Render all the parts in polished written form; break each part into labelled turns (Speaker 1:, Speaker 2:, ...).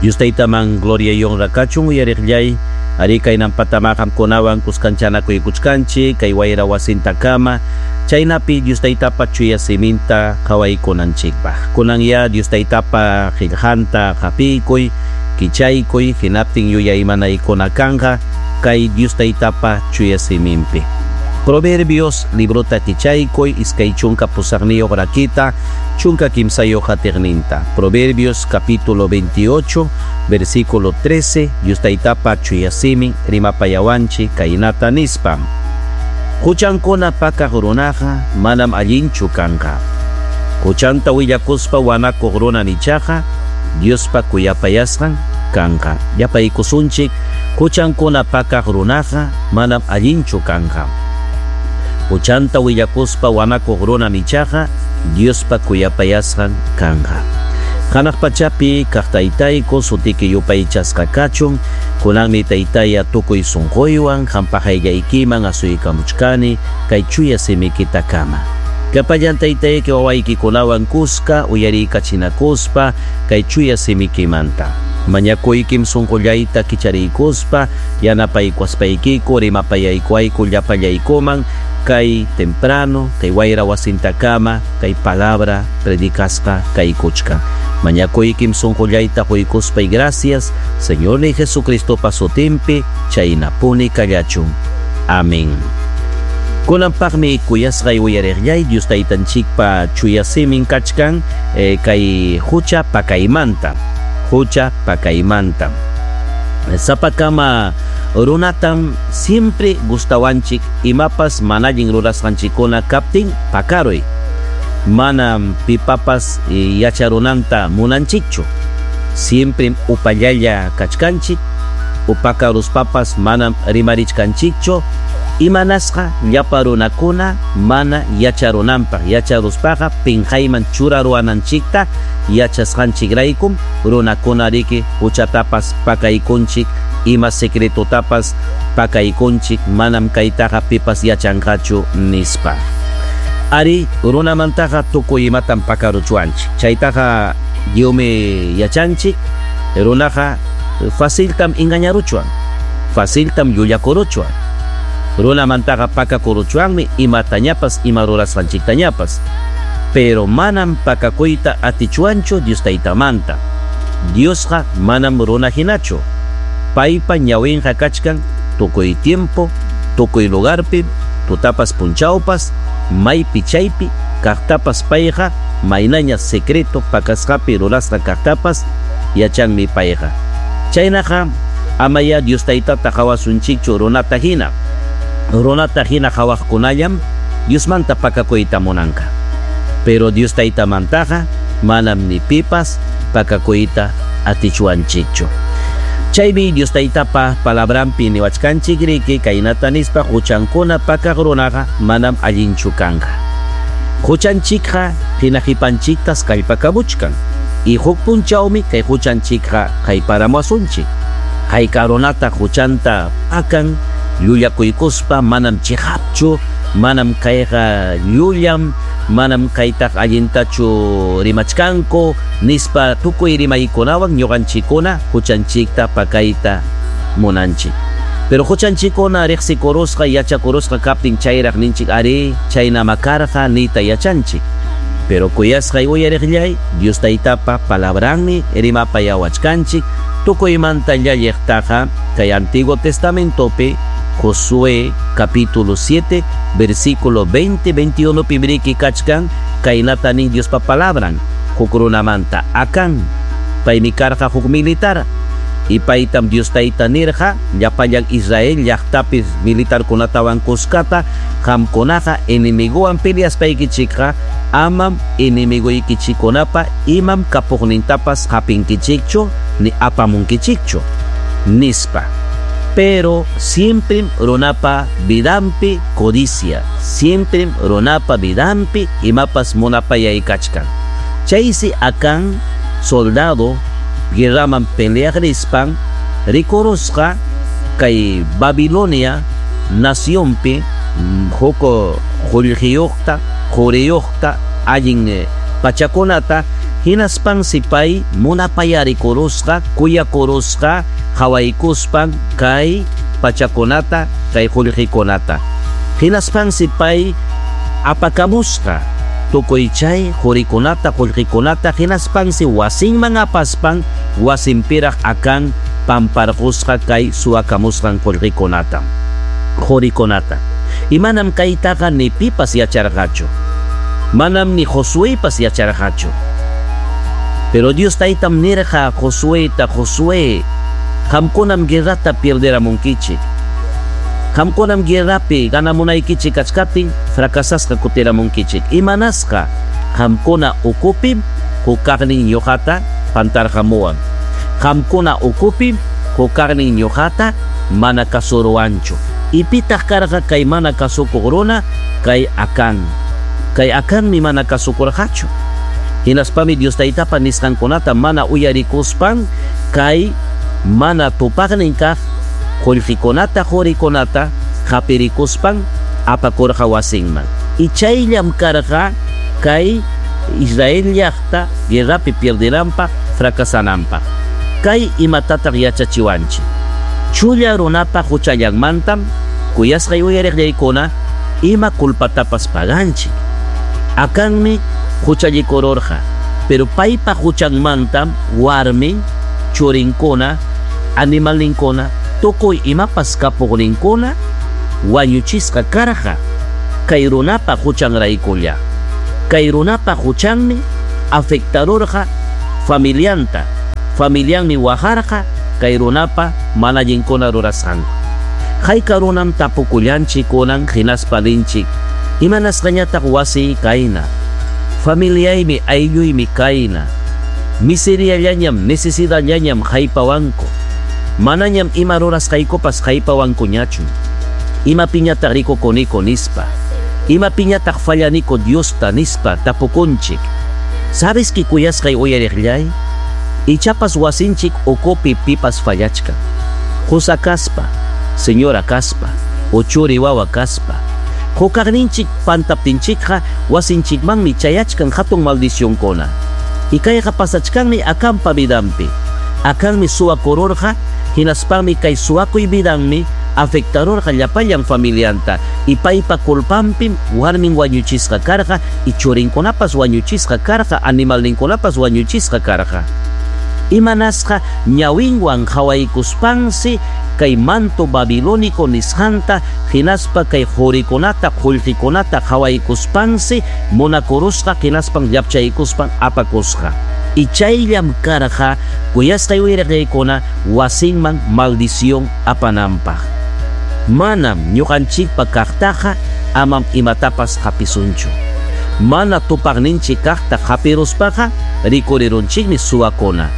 Speaker 1: Dios Taytaman gloria y honra kachun uyariqllay. Arí, kaynampatama qamkunawan kuskanchanakuykuchkanchik kay wayra wasintakama, chaynapi Dios Taytapa chuya siminta qawaykunanchikpaq. Kunanya Dios Taytapa qillqanta qapiykuy, kichaykuy, hinaptin yuyaymanaykuna kanqa kay Dios Taytapa chuya siminpi. Proverbios librota kichaykuy, 28 rakita, 13 qatiqninta. Proverbios capítulo 28, versículo 13, Dios Taytapa chuya simin rimapayawanchik kaynata nispa. Huchankuna pakaq runaqa manam allinchu kanqa. Huchanta willakuspa wanakuq runa nichaqa Diospa kuyapayasqan kanqa. Yapaykusunchik, huchankuna pakaq runaqa manam allinchu kanqa. Huchanta willakuspa wanakuq runa nichaqa Diospa kuyapayasqan kanqa. Hanaq pachapi kaq Taytayku, sutiki yupaychasqa kachun, kunanmi Taytaya tukuy sunquywan qampa qayllaykiman asuykamuchkani kay chuya simikitakama. Llapallan Taytayki wawaykikunawan kuska uyariykachinakuspa kay chuya simikimanta. Mañakuykim sunqullayta kichariykuspa yanapaykuaspaykiku rimapayaykuayku llapallaykuman kay temprano, kay wayra wasintakama, kay palabra predicasqa kaykuchkan. Mañakuykim sunqullayta quykuspay gracias, Señor ni Jesucristopa sutinpi, chaynapuni kallachun. Amén. Kunanpaqmi kuyasqay uyariqllay Dios Taytanchikpa chuya simin kachkan kay hucha pakaymanta. Hucha pakaymanta. Sapakama runatam siempre gustawanchik imapas mana allin rurasqanchikkuna kaptin pakaruy. Manam pipapas yacharunanta munanchikchu. Siempre upallalla kachkanchik, upakaruspapas manam rimarichkanchikchu. Imanasqa llapa runakuna mana yacharunanpaq, yacharuspaqa pinqayman churaruwananchikta yachasqanchikraykum runakuna riki huchatapas pakaykunchik, ima secretotapas pakaykunchik, manam kaytaqa pipas yachanqachu nispa. Ari, runamantaqa tukuy imatam pakaruchwanchik. Chaytaqa lliwmi yachanchik, runaqa faciltam engañaruchwan, faciltam llullakuruchwan. Runamantaqa pakakuruchwanmi imatañapas, ima rurasqanchiktañapas. Pero manam pakakuyta atichwanchu Dios Taytamanta. Diosqa manam runa hinachu. Paypa ñawinqa kachkan tukuy tiempo, tukuy lugarpi, tutapas punchawpas, maypi chaypi kaqtapas payqa maynaña secreto pakasqapi rurasqa kaqtapas yachanmi payqa. Chaynaqa amaya Dios Taytata qawasunchikchu runata hina. Runata hina qawaqkunallam Diosmanta pakakuyta munanqa. Pero Dios Taytamantaqa manam ni pipas pakakuyta atichwanchikchu. Chaymi Dios Taytapa palabranpi niwachkanchik riki kaynata nispa huchankuna pakaq runaqa manam allinchu kanqa. Huchanchikqa hinaqipanchiktas kallpakamuchkan. Y huk punchawmi kay huchanchikqa hayparamuwasunchik. Hayka runata huchanta pakan llullakuykuspa manam chiqapchu, manam kayqa llullam, manam kaytaq allintachu rimachkanku nispa tukuy rimaykunawan ñuqanchikkuna huchanchikta pakayta munanchik. Pero huchanchikkuna riqsikurusqa yachakurusqa kaptin chayraq ninchik ari chaynama karqa niyta yachanchik. Pero kuyasqay uyariqllay Dios Taytapa palabranmi rimapayawachkanchik tukuymanta llalliqtaqa kay Antiguo Testamentopi Josué capítulo 7 versículo 20 21 pibriki kachkan kaynata nin Diospa palabran huk runamanta Acán paymi karqa huk militar y paytam Dios Tayta nirqa llapallan Israel llaqtapi militarkunatawan kuskata qamkunaqa enemiguwan peleaspaykichikqa amam enemiguykichikkunapa imam kapuqnintapas hapinkichikchu ni apamunkichikchu nispa. Pero siempre runapa vidanpi codicia, siempre runapa vidanpi imapas munapayay kachkan. Chaysi Acán soldado guerraman peleaq rispan rikurusqa kay Babilonia nacionpi huk qullqiyuqta, quriyuqta allin pachakunata. Hinaspansi pay munapayarikurusqa, kuyakurusqa, qawaykuspan kay pachakunata, kay qullqikunata. Hinaspansi pay apakamusqa tukuy chay qurikunata, qullqikunata, hinaspansi wasinman apaspan wasinpiraq Acán pamparqusqa kay suwakamusqan qullqikunata, qurikunata. Y manam kaytaqa ni pipas yacharqachu. Manam ni Josuepas yacharqachu. Pero Dios taytam nirqa Josueta, Josué, qamkunam guerrata pierderamunkichik. Qamkunam guerrapi ganamunaykichik kachkaptin fracasasqa kutiramunkichik. Imanasqa qamkuna ukupim hukaqnin ñuqata pantarqamuwan. Qamkuna ukupim hukaqnin ñuqata mana kasuruwanchu. Y pitaq karqa kay mana kasukuq runa? Kay Acán. Kay Acanmi mana kasukurqachu. Hinaspami Dios taytapa nisqankunata mana uyarikuspan kay mana tupaqnin kaq qullqikunata, qurikunata hapirikuspan apakurqa wasinman. Y chayllam karqa kay Israel llaqta guerrapi pierdenanpaq, fracasananpaq. Kay imatataq yachachiwanchik? Chulla runapa huchallanmantam kuyasqay uyariqllaykuna ima culpatapas paganchik. Acanmi huchallikururqa, pero paypa huchanmantam warmin, churinkuna, animalninkuna, tukuy imapas kapuqninkuna wañuchisqa karqa kay runapa huchanraykulla. Kay runapa huchanmi afectarurqa familianta. Familianmi waqarqa kay runapa mana allinkuna rurasqanku. Hayka runam tapukullanchik kunan hinaspa ninchik, imanasqañataq wasiy kayna, familiaymi aylluymi kayna, miseriallañam, necesidadllañam haypawanku, manañam ima rurasqaykupas haypawankuñachu, imapiñataq rikukuniku nispa, imapiñataq fallaniku Diosta nispa tapukunchik. ¿Sabes que kuyasqay uyariqllay? Ichapas wasinchik ukupi pipas fallachkan. Qusa kaspa, señora kaspa, o churi wawa kaspa. Hukaqninchik pantaptinchikqa wasinchikmanmi chayachkan hatun maldicionkuna. Y kayqa pasachkanmi Acanpa vidanpi. Acanmi suwakururqa, hinaspanmi kay suwakuy vidanmi afectarurqa llapallan familianta. Y paypa culpanpim warmin wañuchisqa karqa, y churinkunapas wañuchisqa karqa, animalninkunapas wañuchisqa karqa. Imanasqa ñawinwan qhawaykuspansi kay manto babilónico nisqanta hinaspa kay qurikunata, qullqikunata qhawaykuspansi munakurusqa hinaspan llapchaykuspan apakusqa. Y chayllam karqa kuyasqay uyariqaykuna wasinman maldición apananpaq. Manam ñuqanchikpa kaqtaqa amam imatapas hapisunchu. Mana tupaqninchik kaqta hapiruspaqa rikurirunchikmi suwakuna.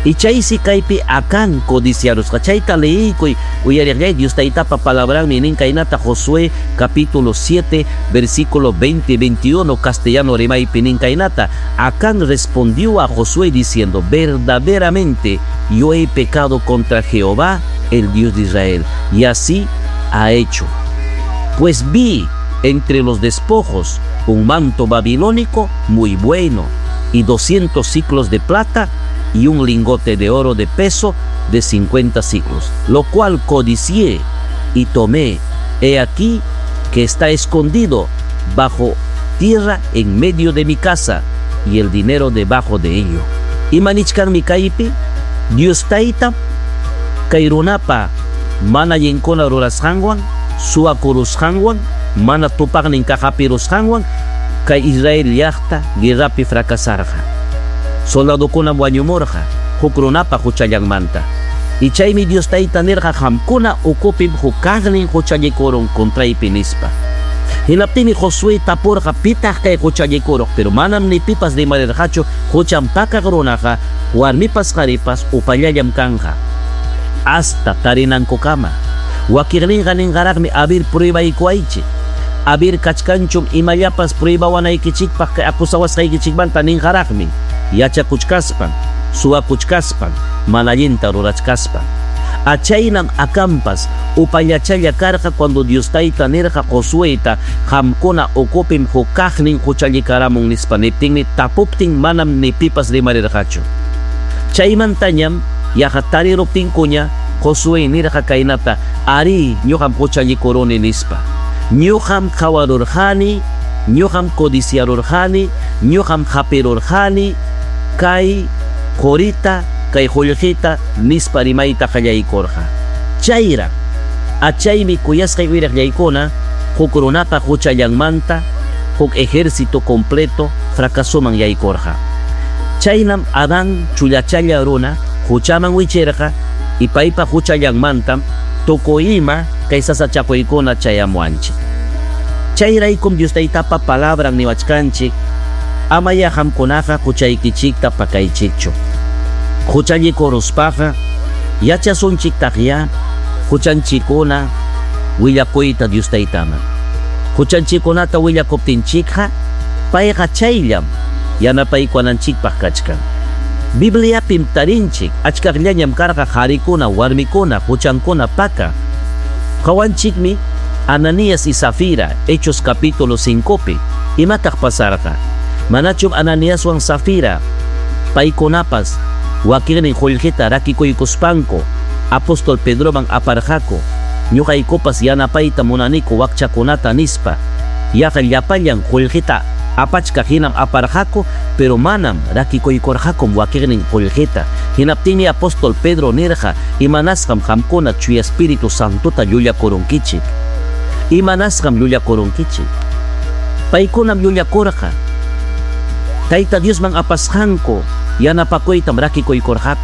Speaker 1: Y chaysi kaypi Acán codiciarusqa. Chayta leiykuy uyariqllay Dios taytapa palabranmi nin kaynata Josué capítulo 7 versículo 20 21 castellano rimaypi nin kaynata. Acán respondió a Josué diciendo: verdaderamente yo he pecado contra Jehová, el Dios de Israel, y así ha hecho. Pues vi entre los despojos un manto babilónico muy bueno y 200 siclos de plata y un lingote de oro de peso de 50 siclos, lo cual codicié y tomé. He aquí que está escondido bajo tierra en medio de mi casa, y el dinero debajo de ello. Imanichkanmi kaypi, Dios tayta kay runapa mana allinkuna rurasqanwan, suwakurusqanwan, mana tupaqnin kaqapirusqanwan, kay Israel llaqta guerrapi fracasarqa. Soldadokunam wañumurqa huk runapa huchallanmanta. Y chaymi Dios tayta nirqa qamkuna ukupim hukaqnin huchallikurun contraypi nispa. Hinaptinmi Josué tapurqa pitaq kay huchallikuruq, pero manam ni pipas rimarirqachu huchanpakaq runaqa warmipas qharipas upallallam kanqa hasta tarinankukama. Wakiqninqa ninqaraqmi abir pruebaykuwaychik, abir kachkanchum imallapas pruebawanaykichikpaq kay acusawasqaykichikmanta ninqaraqmi, yachakuchkaspan, suwakuchkaspan, mana allinta rurachkaspan. Achaynam Acanpas upallachalla karqa cuando Dios Tayta nirqa Josueyta, qamkuna ukupim huk kaqnin huchallikaramun nispa niptinmi, tapuptin manam ni pipas rimarirqachu. Chaymantañam yaqa tariruptinkuña Josué nirqa kaynata, arí, ñuqam huchallikuruni nispa. Ñuqam qawarurqani, ñuqam codiciarurqani, ñuqam hapirurqani kay qorita, kay qullqita nispa rimayta qallaykurqa. Chayraq, achaymi kuyasqay uyariqllaykuna, huk runapa huchallanmanta huk ejército completo fracasoman yaykurqa. Chaynam Adán chullachalla runa huchaman wichirqa y paypa huchallanmantam tukuy ima kay sasachakuykuna chayamuwanchik. Chayraykum Dios Taytapa palabran niwachkanchik, amaya qamkunaqa huchaykichikta pakaychikchu. Huchallikuruspaqa yachasunchiktaqya huchanchikuna willakuyta Dios Taytaman. Huchanchikkunata willakuptinchikqa payqa chayllam yanapaykuwananchikpaq kachkan. Bibliapim tarinchik achkaqllañam karqa qarikuna, warmikuna, huchankuna paka. Qawanchikmi Ananías y Safira, Hechos capítulo 5pi. Imataq pasarqa? Manachum Ananiaswan Safira paykunapas wakinnin qullqita rakikuykuspanku apóstol Pedroman aparqaku, ñuqaykupas yanapayta munaniku wakchakunata nispa. Yaqa llapallan qullqita apachkaq hinam aparqaku, pero manam rakikuykurqakum wakinnin qullqita. Hinaptinmi apóstol Pedro nirqa, imanasqam qamkuna Chuya Espíritu Santota llullakurunkichik. Imanasqam llullakurunkichik. Paykunam llullakurqa. Tayta Diosman apasqanku yanapakuytam rakikuykurqaku.